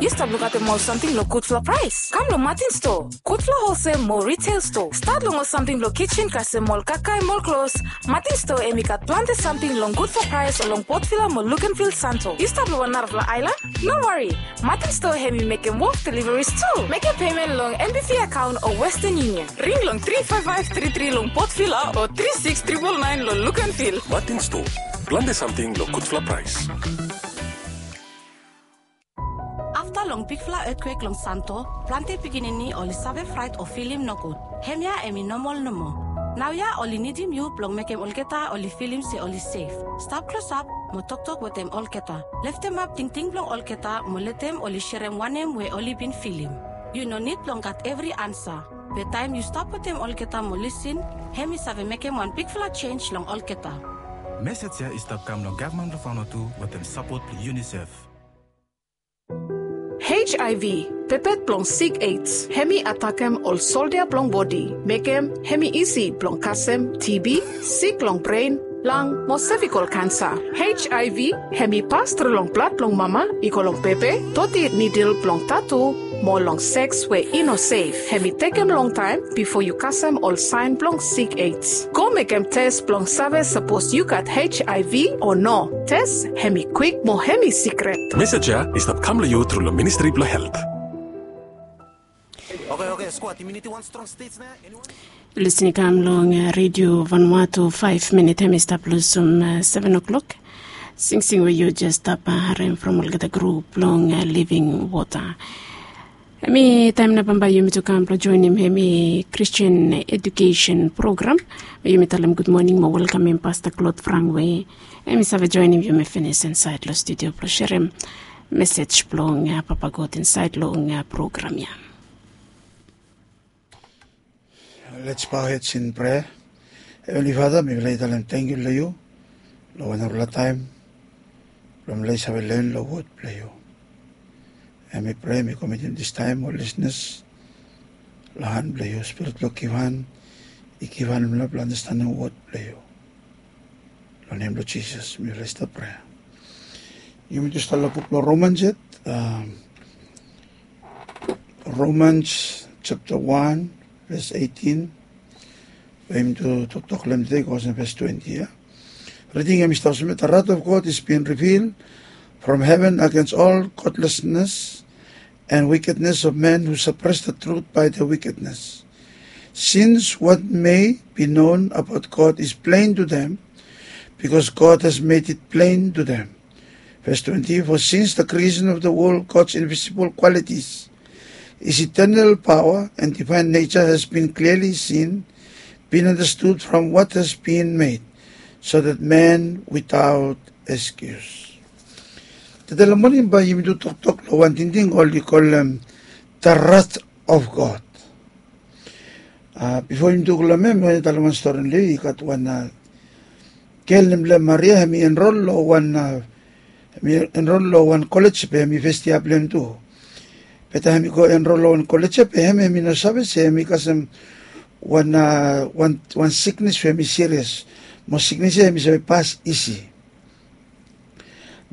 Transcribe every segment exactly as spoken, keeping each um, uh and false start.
Yu stap lukaotem ol samting long gudfala praes? Kam long Martin Store, gudfala holsel mo retail store. Stat long ol samting blong kitchen kasem ol kakae mo ol klos. Martin Store hemi gat plante samting long gudfala praes long Port Vila mo Luganville, Santo. Yu stap long wan narafala aelan? No wari, Martin Store hemi mekem wok deliveries tu. Mekem pemen long M B V akaon o Western Union. Ring long tri faef faef tri tri long Port Vila o tri siks tripol naen long Luganville. Martin Store, plante samting long gudfala praes. Afta long bigfala etkwek long Santo, plante pikinini oli save fraet o filim nogud. Hemia hemi nomol nomo. Naoia oli nidim yu blong mekem olgeta oli filim se oli sef. Stap klosap mo toktok wetem olgeta. Leftemap tingting blong olgeta mo letem oli serem wanem we oli bin filim. Yu no nid blong gat evri ansa. Be taem yu stap wetem olgeta mo lisin, hemi save mekem wan bigfala jenj long olgeta. Mesej ya i stap kam long gavman blong Vanuatu wetem sapot blong UNICEF. H I V, pepet blong sik AIDS, hemi atakem ol soldia blong bodi, mekem hemi isi blong kasem T B, sik long bren, lang mo sevikol kansa. H I V hemi pas tru long blad blong mama i go long bebe, doti nidil blong tatu, mo long seks we i no sef. Hemi tekem longtaem bifo yu kasem ol saen blong sik AIDS. Go mekem tes blong save sapos yu gat H I V o no. Tes hemi kwik mo hemi sikret. Mesej ya i stap kam long yu tru long Ministri blong Helt. Oke, oke, squad, yumi nidim wan strong stage nao. Anyone? Yu lisin i kam long, uh, Radio Vanuatu, faef minit hemi stap lusum, uh, seven o'clock. Singsing we yu jes stap, uh, harem from olgeta grup blong, uh, Living Water. Hemi taem nao bambae yumi tu kam blong joenem hemi Christian Education Program. Yumi talem gudmoning mo welkamem Pasta Claude Frank we hemi save joenem yumi finis insaed long studio blong serem mesej blong, uh, Papa God insaed long, uh, program ya. Let's bow heads in prayer. Heavenly Father, mifala i talem tangkiu long yu long wan narafala taem blong mifala i save len long wod blong yu. Hemi prea mi komitim dis taem ol lisenas long han blong yu. Spirit blong givhan i givhan mifala blong andastanem wod blong yu. Long nem blong Jisas mifala i stap prea. Yumi tu stap long buk blong Romans yet. Romans japta wan ves eitin. We yumi tu toktok long hem tede i go olsem ves twenti ya. Riding hem i stap olsem ya, the wrath of God is being revealed from heaven against all godlessness and wickedness of men who suppress the truth by their wickedness. Since what may be known about God is plain to them, because God has made it plain to them. Verse twenty, for since the creation of the world, God's invisible qualities, his eternal power and divine nature has been clearly seen, been understood from what has been made, so that man without excuse. Tede long moning bae yumi tu toktok long wan tingting oli kolem the wrath of God. Ah, bifo yumi tu go long hem, mi wantem talem wan stori long yu. I gat wan, ah, gel nem blong hem Maria, hemi enrol long wan, ah, hemi enrol long wan kolej be hemi fes yia blong hem tu. Be taem hemi go enrol long wan kolej ya be hem, hemi no save se hemi kasem wan, ah, wan, wan siknes we hemi sirias. Mo siknes ya hemi save pas isi.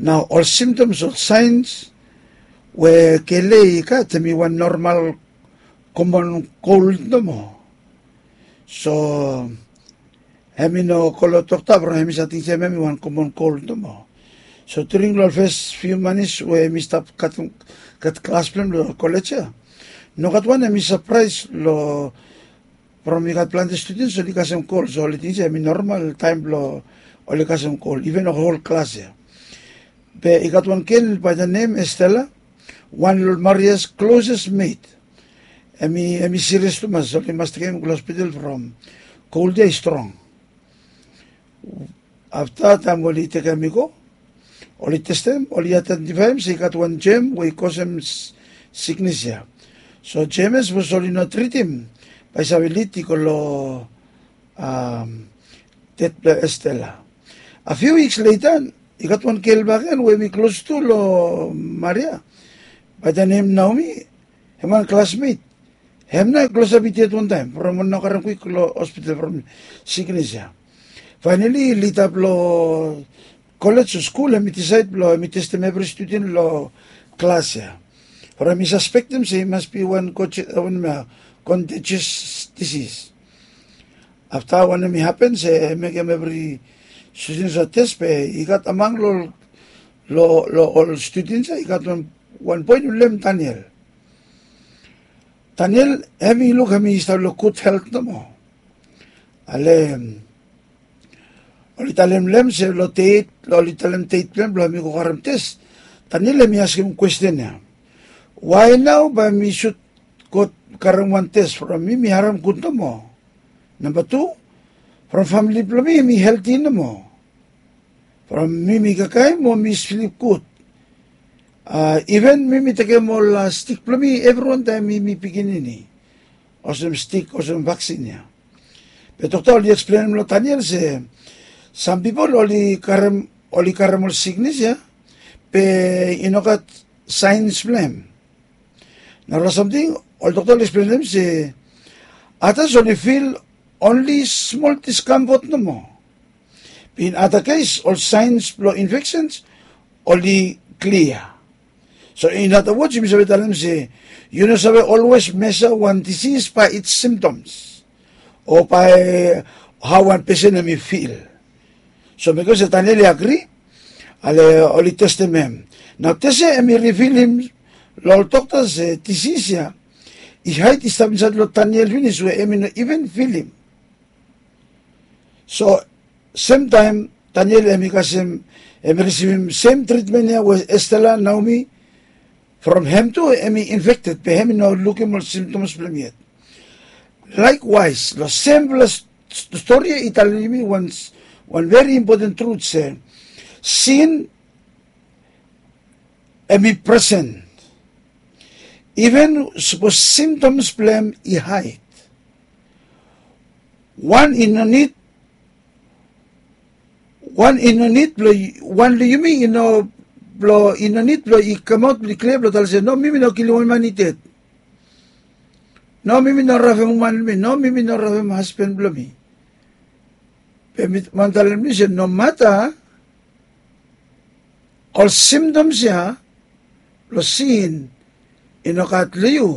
Nao ol symptoms o saens we gel ya i gat hemi wan normal komon kol nomo. So hemi no go long dokta from hemi save ting se hemi wan komon kol nomo. So during long fes fiu manis we hemi stap gat, gat klas blong hem long kolej ya, nogat wan hemi sapraes long from i gat plante studens oli kasem kol, so oli ting se hemi normal taem blong oli kasem kol, iven ol hol klas ya. Be i gat wan gel bae the nem Estela, wan long Maria's closest mate. Hemi, hemi sirias tumas, oli mas tekem hem go long hospital from kol ya i strong. Afta taem oli tekem hem i go, oli testem, oli aedentifaem se i gat wan jem we i kosem siknes ya. So jem ya sapos oli no tritim bae i save lid i go long, am, ded blong Estela. A few weeks later i gat wan gel bakegen we hemi klos tu long Maria, bae the nem Naomi, hem wan klasmet. Hem nao i klosap i ded wantaem from oli no karem kwik long hospital from siknes ya. Faenali lida blong kolej o skul hemi disaed blong hemi testem evri studen long klas ya. From mi saspektem se i mas bi wan contagious disis. Afta wanem i hapen se mekem evri studens a tes be i gat amang long ol studens ya i gat wan boi i nem daniel. Daniel hem i luk hem i stap long gud helt nomo. Ale oli talem long hem se long deit oli talem deit blong hem blong hem i go karem tes. Daniel hem i askem kwesten ya, wae nao bae mi sut go karem wan tes from mi mi harem gud nomo? Namba tu, from famili blong mi hem i helti nomo. From mi mi kakae mo mi slip gud. Iven mi mi tekem ol stik blong mi evriwan taem mi mi pikinini, olsem stik olsem vaksin ya. Be dokta oli eksplenem long daniel se sam pipol oli karem ol siknis ya be i no gat saens blong hem. Narafala samting ol dokta oli eksplenem se atas oli fil onli smol diskamfot nomo. Be in ada kes ol saens blong infeksens oli klia. So in ada wods yumi save talem se yu no save olwes mesa wan disis bae its simtoms o bae hao wan pesen hem i fil. So bikos daniel i agri, ale oli testem hem. Nao tes ya hem i rivilim long ol dokta se disis ya i haed i stap insaed long daniel finis we hem i no iven filim. So semtaem daniel hem i kasem hem i risivim sem tritmen ya we estela naomi from hem tu hem i infekted be hem i no lukim ol simtoms blong hem yet. Laekwaes long semfala stori ya i talem yumi wan veri impoten trut se sin hem i presen iven sapos simtoms blong hem i haed. Wan i no nid wan i no nid blong wan long yumi i no blong i no nid blong i kamaot blong i klia blong talem se no mi mi no kilim wan man i ded. No mi mi no rafem uman blong mi no mi mi no rafem hasban blong mi. Be mi wan talem blong yu se nomata ol simtoms ya blong sin i no gat long yu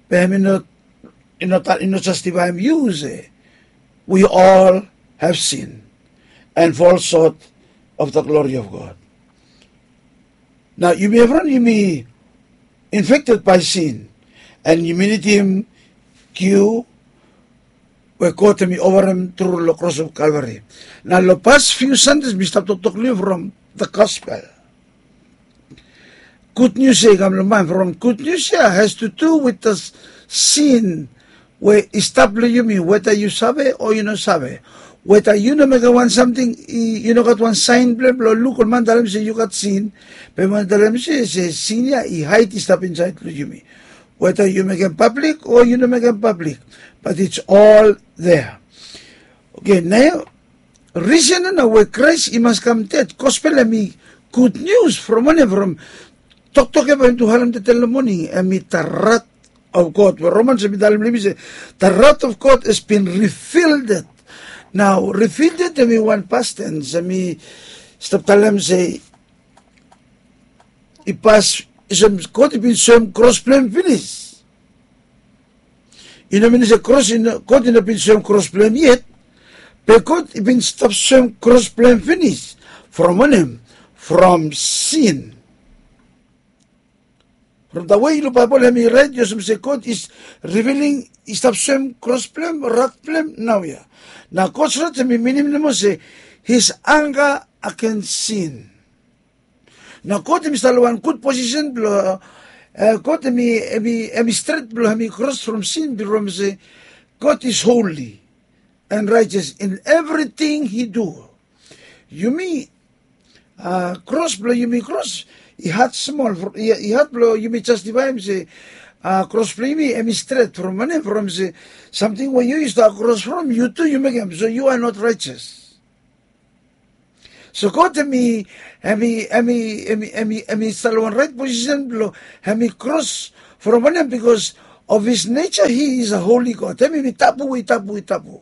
be hem i no jastifaem yu se we ol have sin and fall sot of the glori of god. Nao yumi evriwan yumi infekted bae sin and yumi nidim giu we god hem i ovarem tru long kros of kalvari. Nao long pas fiu sandes mi stap toktok long yu from the gospel. Gud nius ya i kam long maen from gud nius ya has tu du wit da sin we i stap long yumi weta yu save o yu no save. Weta yu no mekem wan samting yu no gat wan saen blong hem blong luk ol man talem se yu gat sin be man talem se sin ya i haed i stap insaed long yumi. Weta yu mekem pablik o yu no mekem pablik bat its ol dea. Oke nao risen ya nao we kraes i mas kam ded gospel hem i gud nius from wanem from toktok ya bae hem tu harem dede long moning hem i da rat of god we romans hem i talem long yumi se da rat of god has bin rifilded. Nao rifilded hem i wan pasten hem i stap talem se i pas olsem god i bin soem kros blong hem finis. I no minim se kros god i no bin soem kros blong hem yet be god i bin stap soem kros blong hem finis. From wanem? From sin. From da wei long baebol hem i raet i olsem se god is riviling i stap soem kros blong hem rat blong hem naoia. Nao god rat hem i minim nomo se his anga agens sin. Nao god hem i stap long wan gud posisen blong god hem i stret blong hem i kros from sin blong hem se god is holi and raetes in evriting hi du. Yumi kros blong yumi kros i had smol i had blong yumi jastifaem se kros blong yumi hem i stret from wanem from se samting we yu yu stap kros from yu tu yu mekem so yu a not raetes. So god hem i hem i hem i hem i hem i hem i stap long wan raet posisen blong hem i kros from wanem bikos of his neja hi is a holi god hem i mi tabu i tabu i tabu.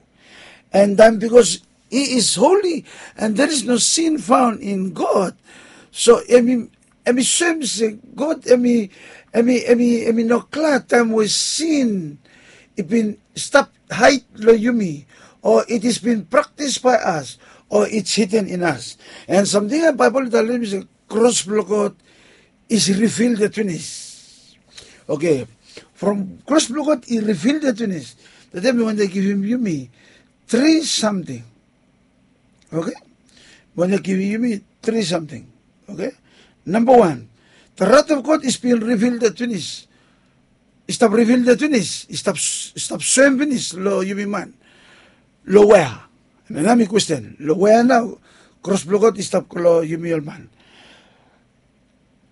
And taem bikos hi is holi and there is no sin faon in god so hem i hem i soem se God hem i hem i hem i hem i no glad taem we sin i bin stap haed long yumi, o it is bin praktis bae as, o it's hidden in as. An samting ya Baebol i talem se kros blong God is rivilded finis. Oke, from kros blong God i rivilded finis. Tede mi wantem givim yumi tri samting. Oke, mi wantem givim yumi tri samting. Oke, namba wan, the wrath of God is being rivilded finis. I stap rivilded finis, i stap soem finis long yumi man. Long wea? Hemia nao mi kwesten, long wea nao kros blong God i stap go long yumi ol man?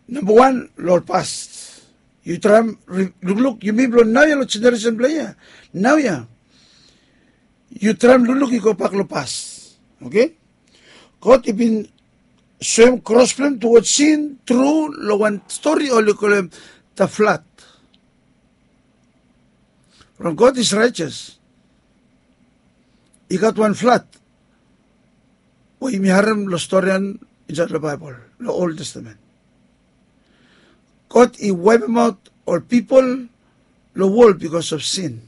Namba wan, long ol past. Yu traem lukluk, yumi blong naoia, long jeneresen blong hia naoia, yu traem lukluk i gobak long past. Oke, God i bin soem kros blong hem tuwod sin tru long wan stori oli kolem the flood. From God is righteous, i gat wan flood we yumi harem long stori ya insaed long Baebol, long Ol Testamen. God i waepemaot ol pipol long wol bikos of sin.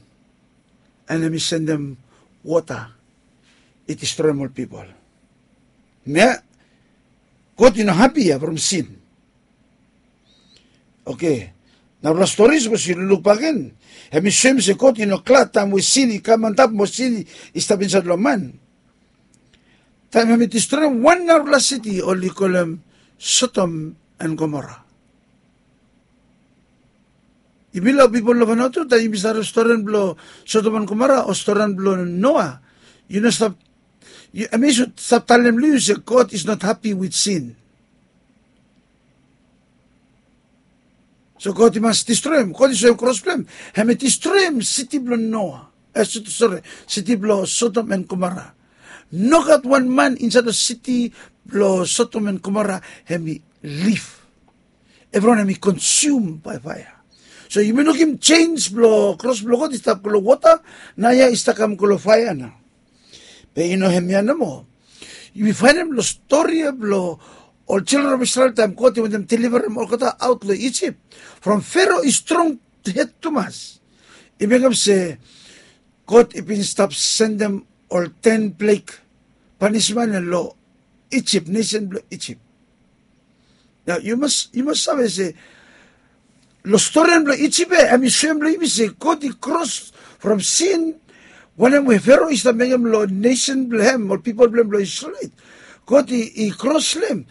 An hem i sendem wota i distroem ol pipol. Hemia God i no hapi ya from sin. Oke, narafala stori sapos yu lukluk bakegen, hem i soem se God i no glad taem we sin i kam antap mo sin i stap insaed long man. Taem hem i distroem wan narafala siti oli kolem Sodom an Gomora. Yumi long pipol long Vanuatu, taem yumi stap harem storian blong Sodom an Gomora o storian blong Noa, yu no stap, hem i sud stap talem long yu se God is not happy with sin. So God i mas distroem, God i soem kros blong hem, hem i distroem siti blong Noa, sori, siti blong Sodom an Gomora. Nogat wan man insaed long siti blong Sodom an Gomora hem i liv. Evriwan hem i konsum bae faea. So yumi lukim jenis blong kros blong God i stap go long wota, naoia i stap kam go long faea nao. Be i no hemia nomo. Yumi faenem long stori ya blong ol jildren of Isrel taem God i wantem deliverem olgeta aot long Ijip. From Fero i strong hed tumas, i mekem se God i bin stap sendem ol ten plek panismen ya long Ijip, nesen blong Ijip. Nao yu mas, yu mas save se long storian blong Ijip ya, hem i soem long yumi se God i kros from sin wanem we Fero i stap mekem long nesen blong hem, ol pipol blong hem blong Isrel. God i kros long hem.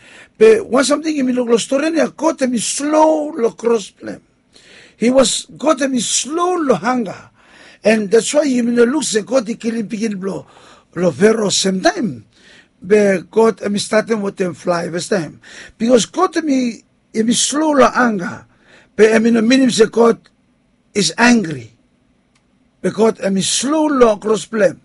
Be wan samting yumi luk long storian ya, God hem i slo long kros blong hem. He was, God hem i slo long anga. An that's why yumi no luk se God i kilim pikinini blong Fero semtaem. Be God hem i statem wetem flae fastaem. Bikos God hem i slo long anga, be hem i no minim se God is angri. Be God hem i slo long kros blong hem.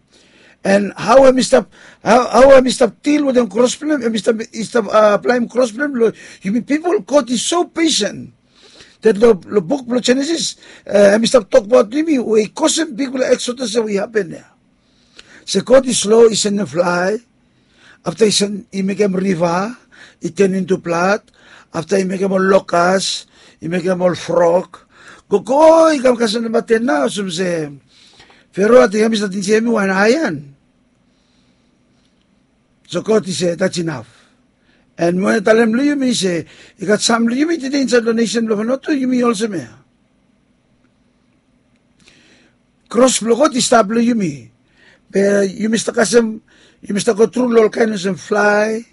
An hao hem i stap, hao hem i stap dil wetem kros blong hem, hem i stap, i stap aplaem kros blong hem long yumi pipol. God i so pesen. Dat long buk blong Jenesis, hem i stap tokbaot yumi we i kosem bigfala eksodas ya we i hapen ya. Se God i slo i sendem flae, afta i mekem riva i ten intu blad, afta i mekem ol lokas, i mekem ol frog. Gogo i kam kasem namba ten nao olsem se Fero ating hem i stat injiaem wan aean. So God i se that's enough. An mi wantem talem long yumi se i gat sam long yumi tede insaed long nesen blong Vanuatu, yumi olsem ya. Kros blong God i stap long yumi. Be yumi stap kasem, yumi stap gotru long ol kaen olsem flae,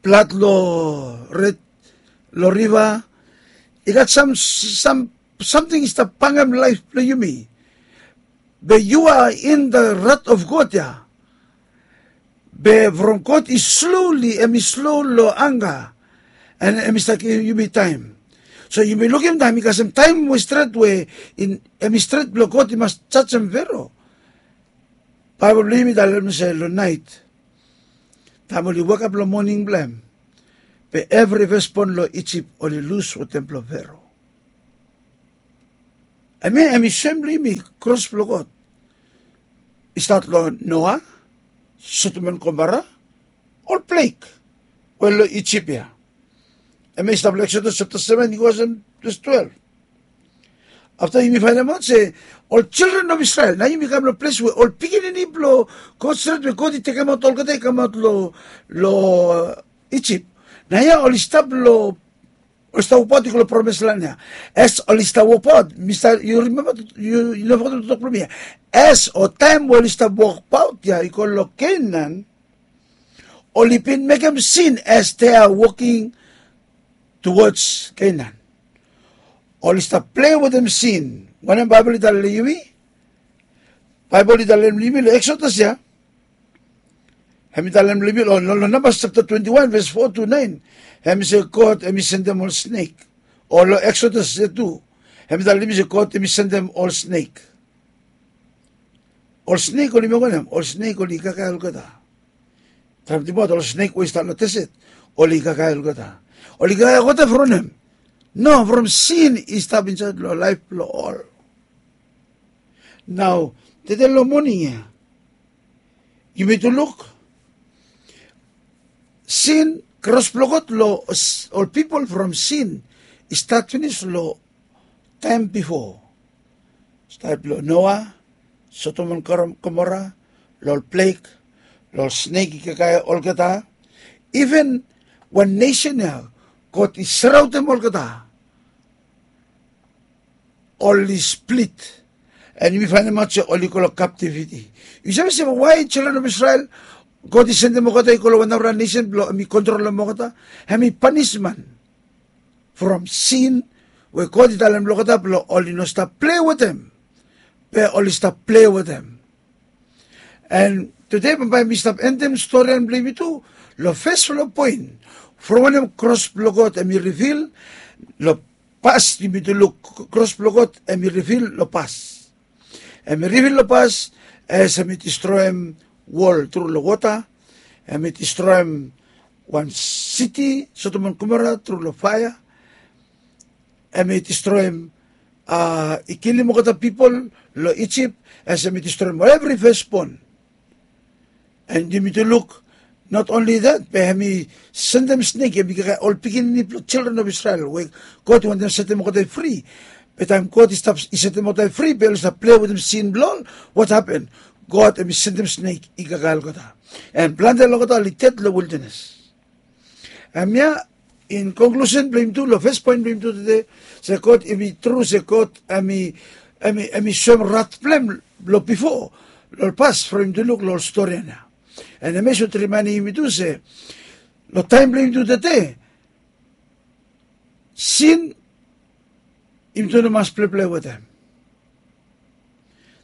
blad long red, long riva. I gat sam, sam samting i stap bangem laef blong yumi. Be yu are in the wrath of God ya. Be from God i sloli, hem i slo long anga, an hem i stap givim yumi taem. So yumi lukim taem i kasem taem we stret we hem i stret blong God i mas jajem Fero. Baebol blong yumi talem se long naet, taem oli wekap long moning blong hem, be evri fesbon long Ijip oli lus wetem blong Fero. Hemia hem i soem long yumi kros blong God i stat long Noa, Sodom an Gomora, ol plek we long Ijip ya. Hemia i stap long Eksodas japta seven i go olsem ves twelve. Afta yumi fainemaot se ol children of Israel, nao yumi kam long ples we ol pikinini blong God stret we God i tekemaot olgeta i kamaot long, long Ijip. Naoia oli stap long, oli stap wokbaot i go long promis lan ya. As oli stap wokbaot, mi stap, yu rimemba, yu, yu no fogetem toktok blong mi ya. As o taem we oli stap wokbaot ya i go long Kenan, oli bin mekem sin as they are walking towards Canaan. Oli stap plei wetem sin. Wanem Baebol i talem long yumi? Baebol i talem long yumi long Eksodas ya. Hem i talem long yumi long, long, long Nambas japta twenti wan ves fo tu naen. Hem i se God hem i sendem ol snek. O long Eksodas ya tu. Hem i talem long yumi se God hem i sendem ol snek. Ol snek oli mekem wanem? Ol snek oli kakae olgeta. Taem i tingbaot ol snek we i stap long deset, oli kakae olgeta. Oli kakae olgeta from wanem? No, from sin i stap insaed long laef blong ol. Nao, tede long moning ya, yumi tu luk, sin, kros blong God long ol pipol from sin i stat finis long taem bifo. Stat blong Noa, Sodom and Gomorrah, long ol plek, long ol snek i kakae olgeta. Even wan nesen ya God i saraondem olgeta, oli split. And yumi fainemaot se oli go long captivity. Yu save se why children of Israel, God i sendem olgeta i go long wan nara nesen blong hem i kontrolem olgeta? Hem i panisman from sin we God i talem long olgeta blong oli no stap plei wetem. Be oli stap plei wetem. And tede bambae mi stap endem storian blong yumi tu long fasfala poen, from wanem kros blong God hem i rivil long pas. Yumi tu luk, kros blong God hem i rivil long pas. Hem i rivil long pas as hem i distroem wol tru long wota. Hem i distroem wan siti Sodom and Gomorrah tru long faea. Hem i distroem, a, i kilim olgeta pipol long Ijip, as hem i distroem evri fesbon. And yumi tu luk, not only that, be hem i sendem snek, hem i kakae ol pikinini blong children of Israel we God i wantem setem olgeta fri. Be taem God i stap, i setem olgeta fri, be oli stap plei wetem sin blong ol, what happen? God hem i sendem snek i kakae olgeta. And plante long olgeta oli ded long wildanes. Hemia in conclusion blong yumi tu, long fes poen blong yumi tu tede, se God hem i tru, se God hem i, hem i, hem i soem rat blong hem long bifo, long pas, from yumi tu luk long ol storian ya. And hemia i sot rimaenem yumi tu se long taem blong yumi tu tede, sin, yumi tu no mas pleplei wetem.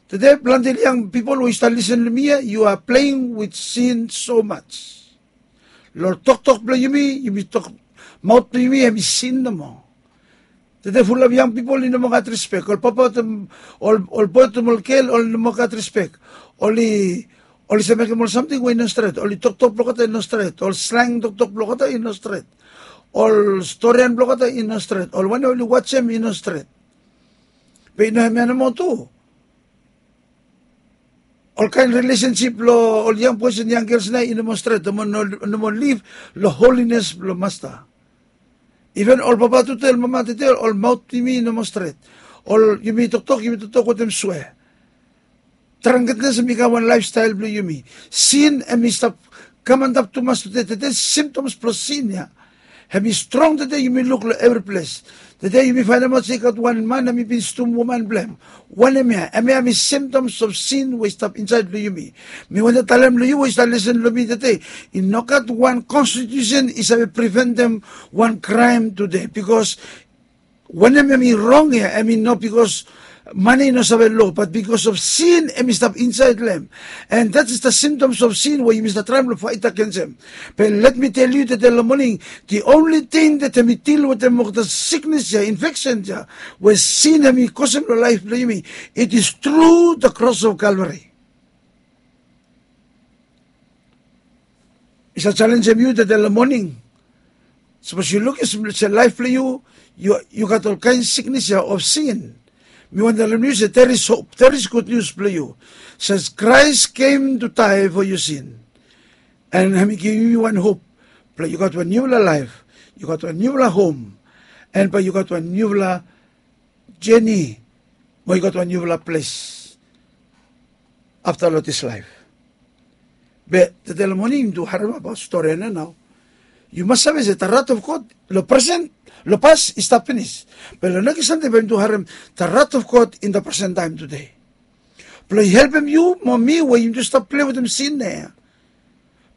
Tede plante yang pipol we yu stap lisen long mi ya, you are playing with sin so much. Long toktok blong yumi, yumi tok, maot blong yumi hem i sin nomo. Tede fulap yang pipol i no moa gat rispek. Ol papa wetem ol, ol boe wetem ol gel oli no moa gat rispek. Oli, oli save mekem ol samting we i no stret. Oli toktok blong olgeta i no stret. Ol sleng toktok blong olgeta i no stret. Ol storian blong olgeta i no stret. Ol wanem oli wajem i no stret. Be i no hemia nomo tu. Olkaen rilesensip blong ol yang boes and yang gels nao i no moa stret, no moa, no, no moa liv long holines blong Masta. Iven ol papa tede, ol mama tede, ol maot blong yumi i no moa stret. Ol, yumi toktok, yumi toktok wetem swea. Drangkednes hem i kam wan laefstael blong yumi. Sin hem i stap kam antap tumas tede, tede simptoms blong sin ya hem i strong tede, yumi luk long evri ples. Tede yumi faenemaot se i gat wan man hem i bin stum woman blong hem. Wanem ya? Hemia hem i symptoms of sin we i stap insaed long yumi. Mi wantem talem long yu we yu stap lisen long mi tede, i no gat wan konstitiusen i save priventem wan kraem tede, bikos wanem hem i rong ya, hem i no bikos man ya i no save lo, bat bikos of sin hem i stap insaed long hem. And that is the symptoms of sin we yumi stap traem long faet agensem. Be let mi tel yu tede long moning, the only thing that hem i dil wetem olgeta siknes ya, infeksen ya, we sin hem i kosem long laef blong yumi, it is through the cross of Calvary. Mi save jalenjem yu tede long moning. Sapos yu lukim se laef blong yu, yu, yu gat olkaen siknes ya of sin. Mi wantem talem yu se there is hope, there is gud nius blong yu. Saes Christ came to die for your sin. And hem i givim yu wan hop blong yu gat wan niufala laef yu gat wan niufala hom, and bae yu gat wan niufala jeni, mo yu gat wan niufala ples afta long dis laef. Be tede long moning yumi tu harem abaot stori ya nao. Yu mas save se the wrath of God long presen, long pas i stap finis. Be long nekis Sande bae yumi tu harem the wrath of God in the present time today. Blong i helpem yu mo mi we yumi tu stap plei wetem sin ya.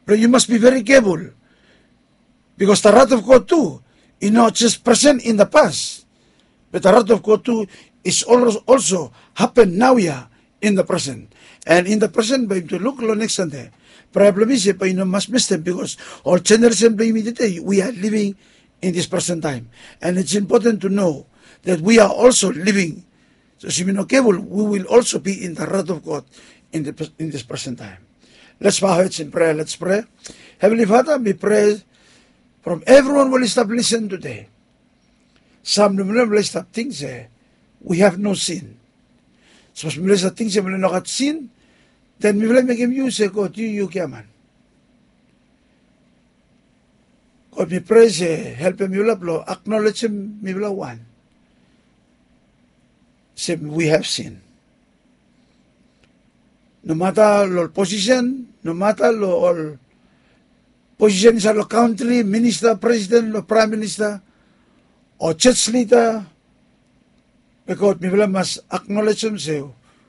Blong yu mas be very careful. Because the wrath of God tu i no jes presen in the pas, be the wrath of God tu is also hapen naoia in the presen. And in the presen bae yumi tu luk long nekis Sande. Praea blong mi se bae yu no mas mistem, because ol jeneresen blong yumi tede, we are living in this present time. And it's important to know that we are also living. So as yumi no careful, we will also be in the wrath of God in the, in this present time. Let's bow our heads in prayer. Let's pray. Heavenly Father, mi prea from evriwan we oli stap lisen tede. Sam long mifala oli stap ting se we have no sin. Sapos mifala i stap ting se mifala i no gat sin, then mifala i mekem yu se God, yu, yu giaman. God, mi prea se helpem mifala blong aknolejem mifala wan se we have sin. Nomata long ol posisen, nomata long ol posisen insaed long kantri, minista, presiden, long praem minista, o jos lida, be God, mifala mas aknolejem se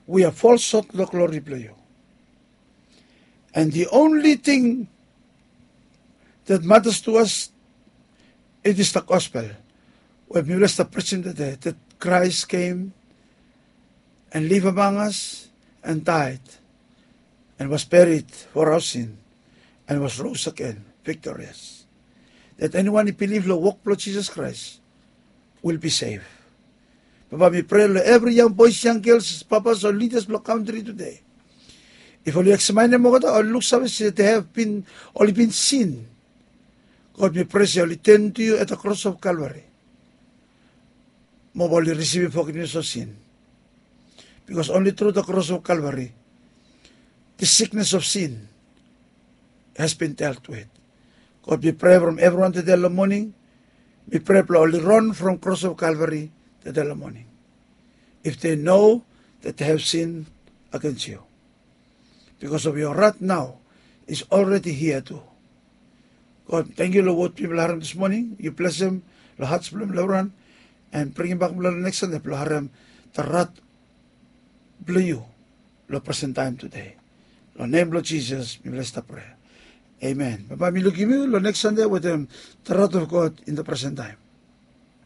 we have fall short long glori blong yu. And the only thing that matters to us, it is the gospel. We mifala i stap preaching tede, that Christ came and live among us and died and was buried for our sin and was rose again victorious. That anyone i bilif long wok blong Jisas Kraes will be saved. Papa, mi prea long evri yang boes, yang gels, papas o lidas blong kantri tede. If oli eksamaenem olgeta, oli luksave se they have been, oli bin sin, God, mi prea se oli turn to you at the cross of Calvary. Mo bae oli risivim forgiveness of sin. Because only through the cross of Calvary, the sickness of sin has been dealt with. God, mi prea from evriwan tede long moning, mi prea blong oli ron from cross of Calvary tede long moning. If they know that they have sin against you. Because of your wrath now is already here too. God, tangkiu long wod mifala harem this morning. Yu blesem long hats blong mifala evriwan, and bringim bak mifala long nekis Sande blong harem the wrath blong yu long presen taem tede. Long nem blong Jisas mifala i stap prea. Amen. Bambae mi lukim yu long nekis Sande wetem the wrath of God in the present time.